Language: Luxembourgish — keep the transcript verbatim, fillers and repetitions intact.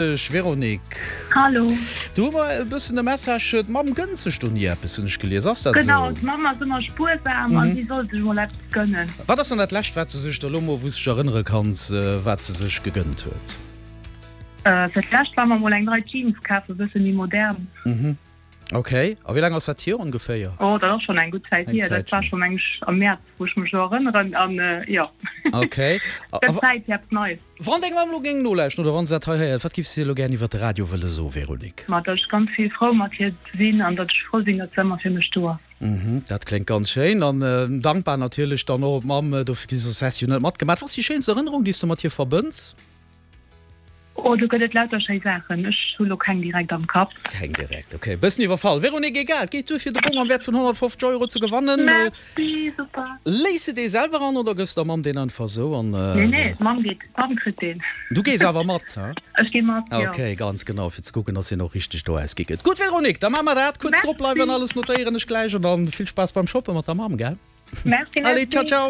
Dech Véronique. Hallo. Du hu mer e bëssen e Message, d'Mamm gënnt sech do ni eppes, hunn ech gelies. Ass dat esou? Genau, d'Mamm ass ëmmer spuersam a si soll sech mol eppes gënnen. Wat ass dann dat lescht, wat se sech da lo mol, wou s de dech erënnere kanns, wat se sech gegënnt huet? Fir d'lescht war mer mol eng nei Jeans kafen, e bësse méi modern. Ok, a wéi laang ass dat hier ongeféier? Oh, dat ass schonn eng gutt Zäit hier. Dat war schonn, meng ech, am Mäerz, wou ech mech elo erënneren. An jo, Ok. Gëtt Zäit fir eppes Neies. Wann deng Mamm elo géing nolauschten oder wann se dat hei héiert, wat giffs de elo gär iwwer de Radio wëlle soen, Véronique? Ma datt ech ganz vill frou mat hir sinn an datt ech frou sinn, datt se ëmmer fir mech do ass. Mhm, dat kléngt ganz schéin. An dankbar natierlech dann och op d'Mamm, dofir soss häss de jo net matgemaach. Wat ass déi schéinst Erënnerung, déi s de mat hir verbënns? Oh, do gëtt et lauter schéi Saachen. Ech hu lo keng direkt am Kapp. Keng direkt, ok. Bëssen iwwerfall. Véronique, egal, et geet duer fir de Bong am Wäert vun honnertfofzeg Euro ze gewannen. Merci, super. Léiss de dee selwer an oder gëffs der Mamm deen einfach sou an? Nee, nee, d'Mamm geet, d'Mamm kritt deen. Du gees awer mat, he? Ech gi mat, jo. Ok, ganz genau, fir ze kucken, dass hien och richteg do ausgi gëtt. Gutt, Véronique, da maache mer dat. Kuerz drop bleiwen, Merci. alles notéieren ech gläich an dann vill Spaass beim Shoppe mat der Mamm, gell? Merci, Allez, ciao, merci. ciao.